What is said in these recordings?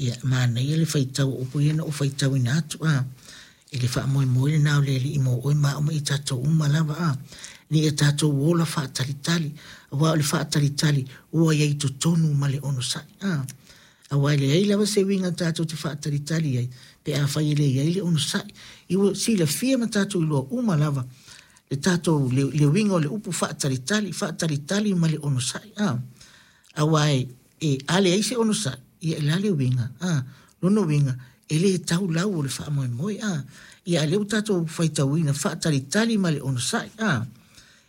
Ia, manaia le faitau o upu ia na ou faitauina atu, a, i le faamoemoe lena o le Alii mo oe ma au ma i tatou uma lava, a, ina ia tatou ola faatalitali, aua o le faatalitali ua i ai i totonu ma le onosai, a. Aua e leai lava se uiga tatou te faatalitali ai pe afai e le i ai le onosai. I ua silafia ma tatou iloa uma lava le tatou, le, le uiga o le upu faatalitali, faatalitali ma le onosai, a. Aua e, e, a leai se onosai, ia e le a le uiga, a, lona uiga, e le tau lau o le faamoemoe, a. Ia a lea ua tatou faitauina faatalitali ma le onosai, a.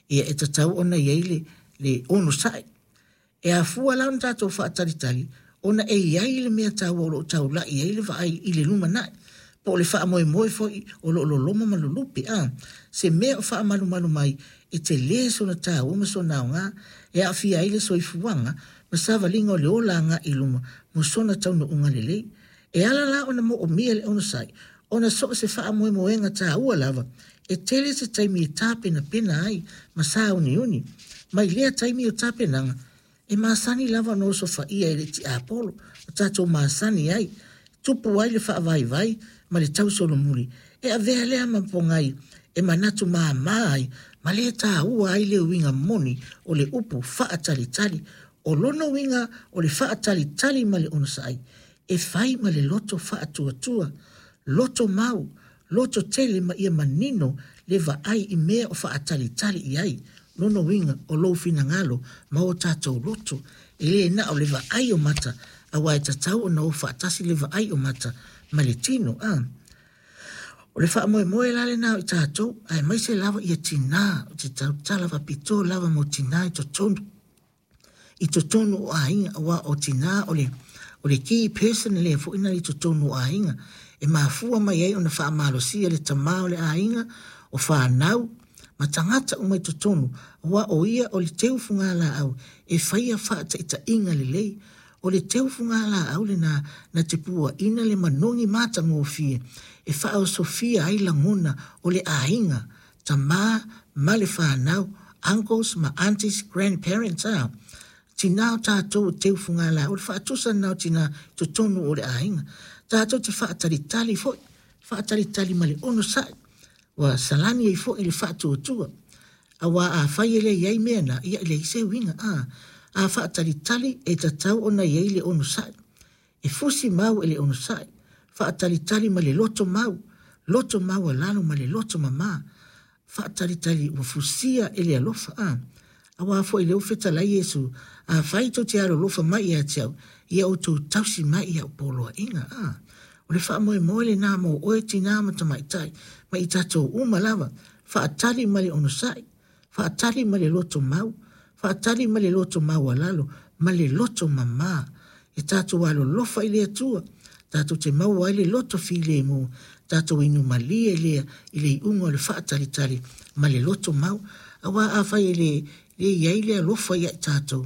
Ia e tatau ona i ai le, le onosai. E afua la ona tatou faatalitali ona e i ai le mea taua o lo o taula'i ai le vaai i le lumanai, po o le faamoemoe foi o lo o loloma ma lulupe, a, se mea o faamalumalu mai e tele sona taua ma sona aoga e aafia ai le soifuaga ma savaliga o le ola agai i luma mo sona taunuuga lelei. E ala la ona moomia le onosai ona so o se faamoemoega taua lava e tele se taimi e tapenapena ai ma sauniuni. Mai lea taimi o tapenaga, e masani lava ona osofaia e le tiapolo o tatou masani ai, tupu ai le faavaivai ma le tausolomuli, e avea lea ma pogai e manatu māmā ai ma le taua ai le uiga moni o le upu faatalitali. O lona uiga o le faatalitali ma le onosai, e fai ma le loto faatuatua, loto mau, loto tele ma ia manino le vaai i mea o faatalitali i ai. Lona uiga o lou finagalo ma o tatou loto, e le na o le vaai o mata, aua e tatau ona o faatasi le vaai o mata ma le tino. A. O le faamoemoe la lena o i tatou, aemaise lava ia tinā, ou te tautala faapitoa lava mo tinā i totonu, i totonu o aiga, aua o tinā o le, o le key person lea foi na i totonu o aiga, e mafua mai ai ona faamalosia le tamā o le aiga, o fanau, ma tagata uma i totonu, aua o ia o le teu fugalaau e faia faataitaiga lelei. O le teu fugalaau lena na te puaina le manogi matagofie e faaosofia ai lagona o le aiga, tamā ma le fanau, uncles ma aunties, grandparents, a. Tinā o tatou o teu fugalaau, o le faatusa lena o tinā i totonu o le aiga. Tatou te faatalitali foi, faatalitali ma le onosai, ua salani ai foi le faatuatua. Aua afai e le i ai mea na, ia e leai se uiga, a. A faatalitali e tatau ona i ai le onosai. E fusi mau e le onosai, faatalitali ma le loto mau, loto maualalo ma le loto mamā. Faatalitali ua fusia e le alofa, a. Aua foi lea ua fetalai Iesu, afai tou te alolofa mai ia te au, ia outou tausi mai i au poloaiga, a. O le faamoemoe lena mo oe tinā ma tamaitai, ma i tatou uma lava, faatali ma le onosai, faatali ma le loto mau, faatali ma le loto maualalo, ma le loto mamā. E tatou alolofa i le Atua, tatou te maua ai le loto filemu, tatou inu malie lea i le iuga o le faatalitali ma le loto mau. Aua afai e le, le i ai le alofa ia i tatou,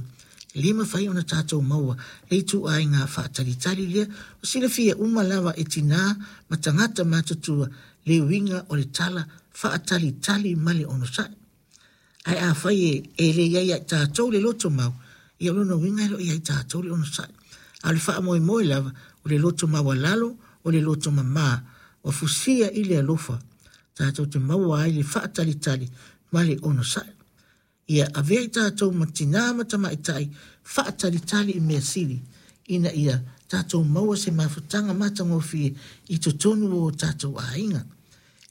e le mafai ona tatou maua le ituaiga faatalitali lea. O silafia uma lava e tinā ma tagata matutua le uiga o le tala faatalitali ma le onosai. Ae afai e, e le i ai ia i tatou le loto mau, ia o lona uiga e le o i ai tatou le onosai. A o le faamoemoe lava, o le loto maualalo, o le loto mamā, ua fusia i le alofa, tatou te maua ai le faatalitali ma le onosai. Ia avea i tatou ma tinā ma tamaitai faatalitali i mea sili, ina ia tatou maua se mafutaga matagofie i totonu o o tatou aiga.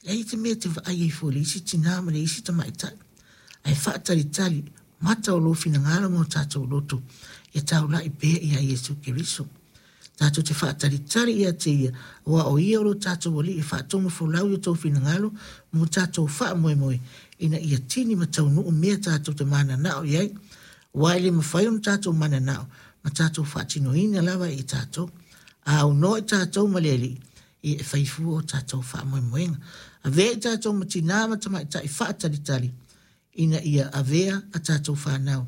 Leai te mea e te vaai ai fua i le isi tinā ma le isi tamaitai, ae faatalitali mata o lou finagalo ma o tatou loto ia taula'i pea ia Iesu Keriso. Tatou te faatalitali ia te ia, aua o ia o lo tatou Alii e faatonufolau i o tou finagalo ma o tatou faamoemoe, ina ia tini ma taunuu mea tatou te mananao i ai, aua e le mafai ona tatou mananao ma tatou faatinoina lava e i tatou. A aunoa i tatou ma le Alii, ia e fai fua o tatou faamoemoega. Avea i tatou ma tinā ma tamaitai faatalitali, ina ia avea a tatou fanau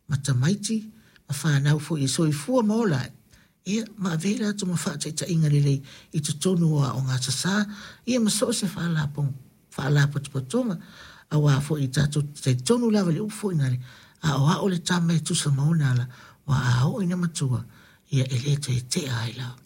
ma tamaiti ma fanau foi e soifua ma ola ai, ia, ma avea i latou ma faataitaiga lelei i totonu o aoga sasā, ia ma so o se faalapotopotoga, aua foi tatou te talitonu lava i le upu foi nale, a o ao le tama e tusa ma ona ala, aua a oo ina matua, ia e le toe tea ai lava.